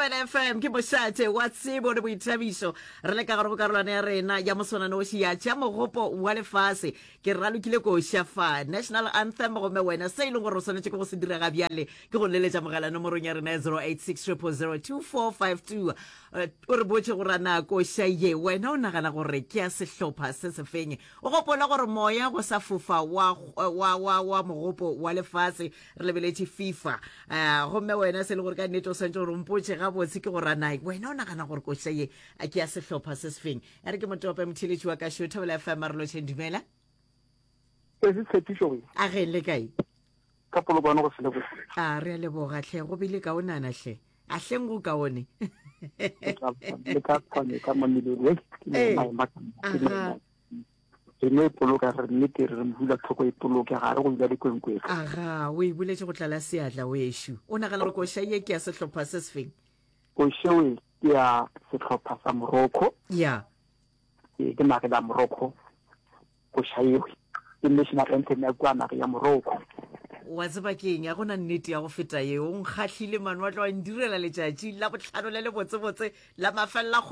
Thobela FM ke mošate wa tsebo le boithabišo. Re le ka gare go karolwana ya rena ya moswananoši ya tša mogopo wa lefase. Ke ralokile koša fa National Anthem gomme wena se e leng gore o swanetše ke go se dira ga bjale ke go leletša mogala nomorong ya rena ya 086 000 2452 eh, o re botše gore a na koša ye wena o nagana gore ke ya sehlopha se sefeng. O gopola gore moya go sa fofa wa, wa, wa, wa mogopo wa lefase re lebeletše FIFA. Uh, gomme wena se le gore ka nnete o swantse gore mpotše gabotse ke gore na wena o nagana gore koša ye a ke ya sehlopha se sefeng. A re ke motope motheletši wa ka šo Thobela FM a re lotšheng dumela. Se se tshepišo. A ge le kae? Ka polokwane go sele botse. A re a leboga hle go bile kaonana hle. A hleng go kaone. Le ka kgone ka mamelodi. Ee. Aha. Re no e poloka re nnete re re mohula tlhoko e poloke ga re go dula dikwenkweng. Aga, o e boletše go tlala seatla wešo. O nagana gore koša ye ke ya sehlopha se sefeng? Koša e ke ya sehlopha sa Morocco. Ya. Ee, ke nageng ya Morocco. Koša eo ke national anthem ya kua nageng ya Morocco. Wa tseba ke eng, ga go na nnete ya go feta yeo. O nkgahlile man, wa tla wa ndirela letšatši la bohlano le lebotsebotse la mafelela kgwedi.